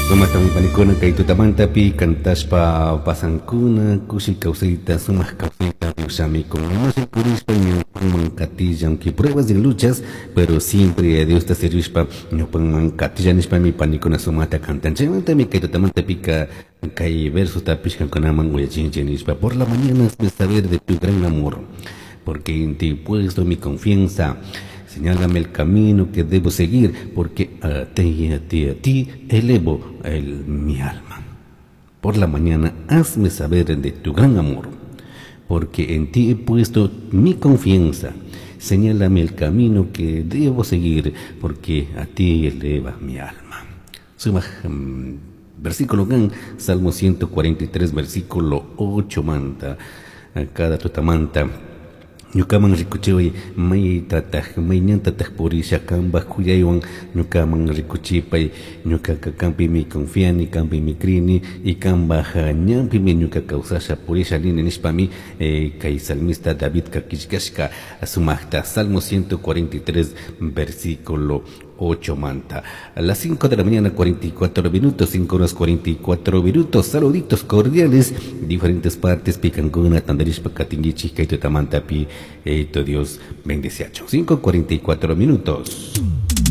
Sumakmi panikuna kay tutamantapi kantashpa pasankuna kushi kawsayta sumak kawsayta Diosami kurishpa ñawpanman katillan que pruebas y luchas, pero siempre a Diosta servishpa ñawpanman katillan nishpami panikuna sumata cantan. Chaymantami kay tutamantapika kay versotapish kankunaman uyachinchik nishpa: "Por la mañana hazme saber de tu gran amor, porque en ti he puesto mi confianza. Señálame el camino que debo seguir, porque a ti, a ti, a ti elevo mi alma." Por la mañana hazme saber de tu gran amor, porque en ti he puesto mi confianza. Señálame el camino que debo seguir, porque a ti eleva mi alma. Sumak versículo kan, Salmo 143, versículo 8 manta, cada tutamanta. Ñukaman rikuchiway maytataj may ñantataj purisha kambaj kuyaywan ñukaman rikuchipay ñukaka kampimi confiani kampimi crini y kambaj ñanpimi ñuka kawsasha purisha nini nishpami kay salmista Davidka killkashka sumajta Salmo 143 versículo 8 manta. A las 5 de la mañana, 44 minutos, 5 horas 44 minutos. Saluditos cordiales, diferentes partes, picancuna, tandarishpa, katinguichi, kaito tamantapi, eito Dios bendeciacho. 5:44 minutos.